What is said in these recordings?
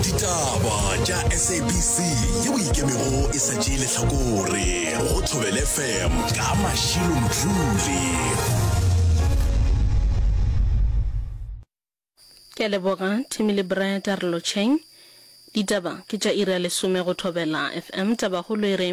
Ditaba tša SABC yeo e ikemego e sa tšee lehlakore go Thobela FM ka Mashilo Mdluli. Ke a leboga Timmy le Brad a re lotšheng. Ditaba ke tša iri ya lesome go Thobela FM. Tabakgolo e re,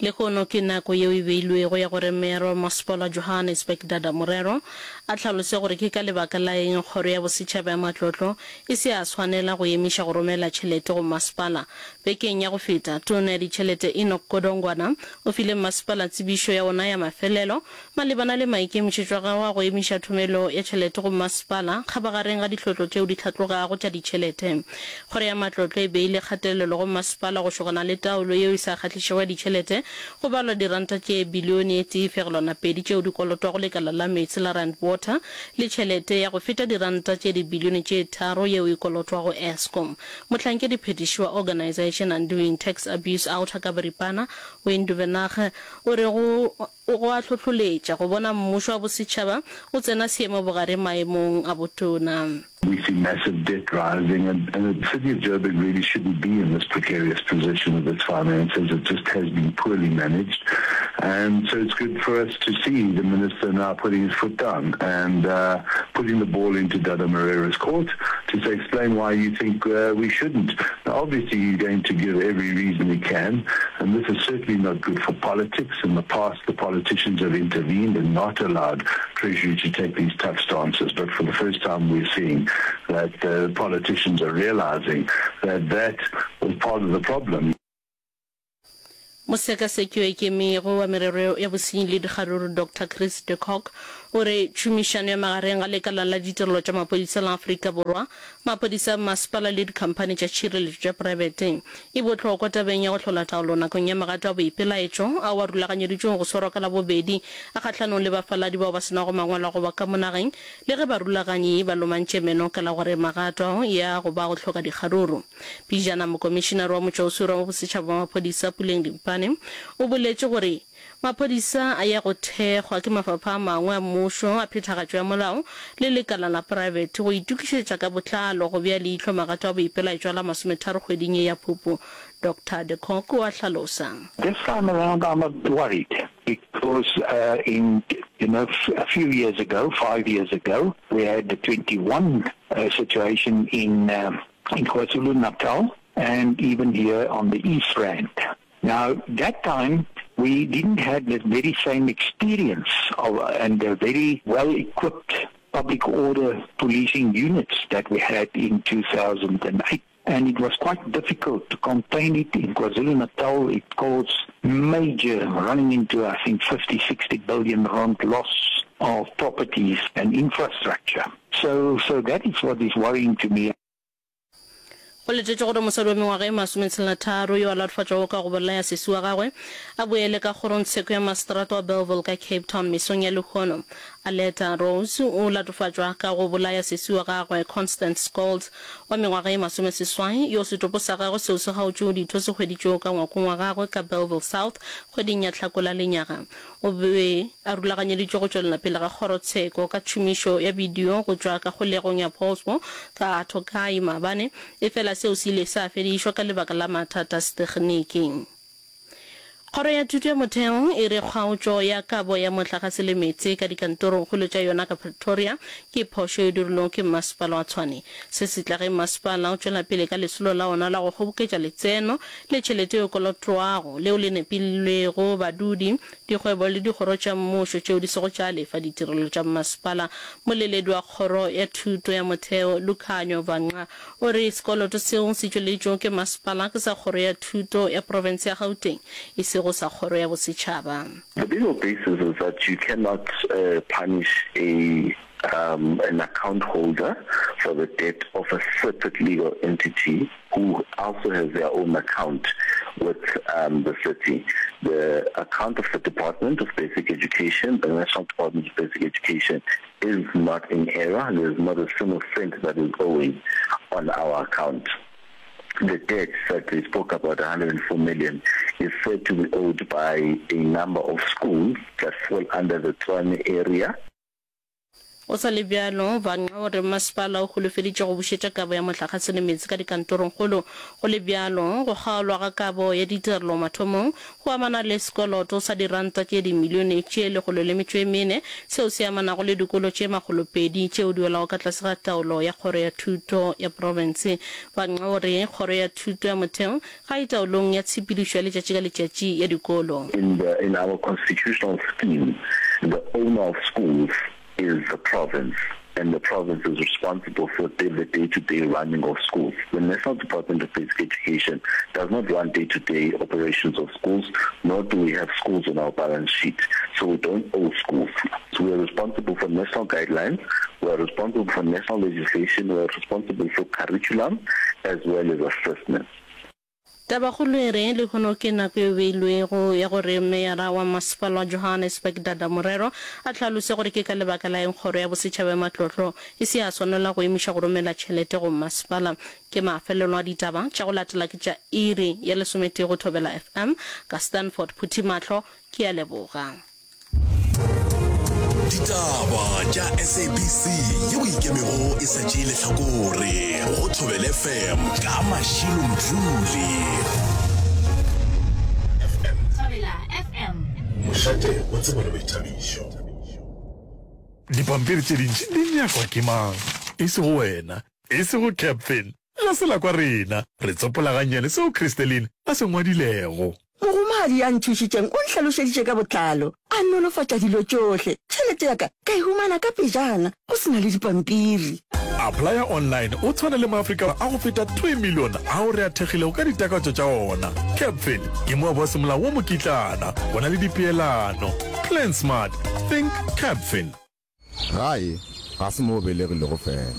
Lehono ke nako yeo e beilwego ya gore Meyara wa Masepala wa Johannesburg Dada Morero a hlalose gore ke ka lebaka la eng Kgoro ya Bosetšhaba ya Matlotlo e se ya swanela go emiša go romela tšhelete go masepala. Bekeng ya go feta, Tona ya Ditšhelete Enoch Godongwana o file masepala tsebišo ya ona ya mafelelo Malebana le maikemišetšo a gagwe a go emiša thomelo ya tšhelete go mmasepala kgabagareng ga dihlotlo tšeo di hlatlogago tša ditšhelete, Kgoro ya Matlotlo e beile kgatelelo go mmasepala go šogana le taolo yeo e sa kgahlišego ya ditšhelete go balwa diranta tše bilione e tee fegelwana pedi tšeo di kolotwago lekala la meetse la Rand Water le tšhelete ya go feta diranta tše dibilione tše tharo yeo e kolotwago Eskom. Mohlankediphethiši wa Organisation Undoing Tax Abuse, OUTA, ka boripana, Wayne Duvenage, o re go Go a hlohloletša go bona mmušo wa bosetšhaba o tsena seemo bogare maemong a botona. We see massive debt rising and and the city of Joburg really shouldn't be in this precarious position with its finances, it just has been poorly managed and so it's good for us to see the minister now putting his foot down and putting the ball into Dada Morera's court to say explain why you think we shouldn't. Now obviously he's going to give every reason he can and this is certainly not good for politics. In the past the politicians have intervened and not allowed Treasury to take these tough stances but for the first time we're seeing that the politicians are realizing that that was part of the problem. Mosekaseki yo a ikemego wa merero ya bosenyi le dikgaruru Doctor Chris de Kock o re tšhomišano ya magareng ga lekala la ditirelo tša maphodisa la Afrika Borwa, maphodisa a mmasepala le dikhamphani tša tšhireletšo tša praebete e bohlokwa tabeng ya go hlola taolo nakong ya magato a boipelaetšo ao a rulaganyeditšwego go swarwa ka Labobedi a kgahlanong le bafaladi bao ba se nago mangwalo a go ba ka mo nageng le ge barulaganyi ba lomantše meno ka la gore magato ao ya go ba go hloka dikgaruru. Pejana Mokomišinare wa Motšwaoswere wa Bosetšhaba wa Maphodisa Puleng Dimpane o boletše gore maphodisa a ya go thekgwa ke mafapha a mangwe a mmušo a phethagatšo ya molao le lekala la praebete go itokišetša ka botlalo go bea leihlo magato a boipelaetšo a la masometharo kgweding ye ya Phupu. Doctor de Kock o a hlalosa. This time around I'm a bit worried because in you know a few years ago, five years ago, we had the 21 situation in in KwaZulu-Natal and even here on the East Rand. Now, that time we didn't have the very same experience of, and the very well-equipped public order policing units that we had in 2008. And it was quite difficult to contain it. In KwaZulu-Natal, it caused major, running into, I think, 50, 60 billion rand loss of properties and infrastructure. So, so that is what is worrying to me. Go letetšwe gore mosadi wa mengwaga e masometshelatharo yo a latofatšwago ka go bolaya sesi wa gagwe a boele ka kgorongtsheko ya maseterata wa Bellville ka Cape Town mesong ya lehono. Aletta Rose o latofatšwa ka go bolaya sesi wa gagwe Constance Scholtz wa mengwaga e masomeseswai yo setopo sa gagwe seo se kgaotšwego ditho se hweditšwego ka ngwakong wa gagwe ka Bellville South kgweding ya Hlakola lenyaga. O be a rulaganyeditšwe go tšwelela pele ga kgorotsheko ka tšhomišo ya bidio go tšwa ka kgolegong ya Pollsmoor ka Tokai maabane, efela seo se ile sa fedišwa ka lebaka la mathata a setegniki. Kgoro ya Thuto ya Motheo e re kgaotšo ya kabo ya mohlagase le meetse ka dikantorongkgolo tša yona ka Pretoria ke phošo e dirilwego ke Mmasepala wa Tshwane. Se se tla ge mmasepala o tšwela pele ka lesolo la ona la go kgoboketša letseno le tšhelete e kolotwago leo le nepilwego badudi, dikgwebo le dikgoro tša mmušo tšeo di sego tša lefa ditirelo tša mmasepala. Moleledi wa Kgoro ya Thuto ya Motheo, Lukhanyo Vangqa, o re sekoloto seo se tšweleditšwego ke masepala ke sa Kgoro ya Thuto ya Profense ya Gauteng, e sego sa Kgoro ya Bosetšhaba. The legal basis is that you cannot punish a an account holder for the debt of a separate legal entity who also has their own account with um, the city. The account of the Department of Basic Education, the National Department of Basic Education, is not in error. There is not a single cent that is owing on our account. The debt that they spoke about, 104 million, is said to be owed by a number of schools that fall under the Tshwane area. Go sa le bjalo, Vanqa o re masepala o holofeditše go bušetša kabo ya mohlagase le meetse ka dikantorongkgolo. Go le bjalo, go kgaolwa ga kabo ya ditirelo mathomong go amana le sekoloto sa diranta tše dimilione tše 104 seo se amanago le dikolo tše 200 tšeo di welago ka tlase ga taolo ya Kgoro ya Thuto ya profense. Vanqa o re Kgoro ya Thuto ya Motheo ga e taolong ya tshepedišo ya letšatši ka letšatši ya dikolo. In the in our constitutional scheme, the owner of schools is the province and the province is responsible for the day-to-day running of schools. The National Department of Basic Education does not run day-to-day operations of schools, nor do we have schools on our balance sheet. So we don't owe schools. So we are responsible for national guidelines, we are responsible for national legislation, we are responsible for curriculum as well as assessments. Tabakgolo e re, Lehono ke nako e beilwego ya gore Meyara wa Masepala wa Johannesburg Dada Morero a hlalose gore ke ka lebaka la eng Kgoro ya Bosetšhaba ya Matlotlo e se ya swanela go emiša go romela tšhelete go masepala. Ke mafelelo a ditaba tša go latela ke tša iri ya lesometee go Thobela FM ka Stanford Phuthimahlo. Ke a leboga. Ditaba tša SABC yeo ikemego e sa tšee lehlakore go Thobela FM ka Mashilo Mdluli. FM. Thobela FM. Mošate wa tsebo le boithabišo. Dipampiri tše dintši di nyakwa ke mang? E sego wena, e sego Captain. La se la kwa rena re tsopola gannyane seo Christeline a se ngwadilego. Mogomadi ya nthušitšeng o nhlalošeditše ka botlalo, a nolofatša dilo tšohle. Tšhelete ya ka ka e humana ka pejana, go se na le dipampiri. Applya online o tshwane le maAfrika a go feta 2 milione ao re a thekgilego ka ditakatšo tša ona. Capfin ke moabi wa semolao wa mokitlana, go na le dipeelano. Plan smart, think Capfin. Gae ga se mo o belegilego fela,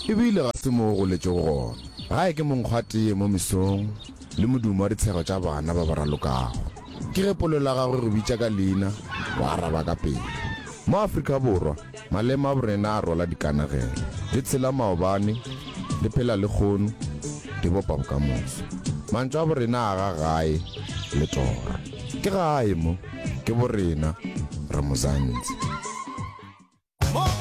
e bile ga se mo o goletšego gona. Gae ke monkgo wa teye mo mesong le modumo wa ditshego tša bana ba ba ralokago. Ke ge polelo ya gago e go bitša ka leina, wa araba ka pela. Mo Afrika Borwa, maleme a borena a rwala dikanegelo. Di tshela maobane, di phela lehono, di bopa bokamoso. Mantšu a borena a aga gae le toro. Ke gae mo. Ke borena, re Mozantsi.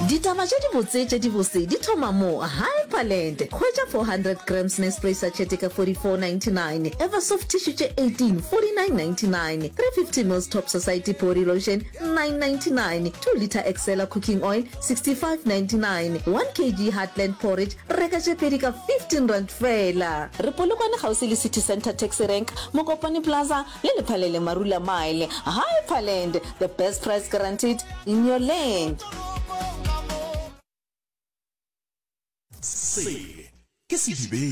Ditaba tše dibotse tše dibose di thoma mo Hyperland. Hwetša 400 grams Nespray sachet ka 44.99, Eversoft tissue tše 18, 49.99, 350 mils Top Society body lotion, 9.99, 2 litre Excella cooking oil, 65.99, 1 kg Heartland porridge, reka tše pedi ka 15 rand feela. Re Polokwane kgauswi le City Centre Taxi Rank, Mokopane Plaza, Le Lephalele Marula Mile, Hyperland, the best price guaranteed in your land. Se ke sedibeng.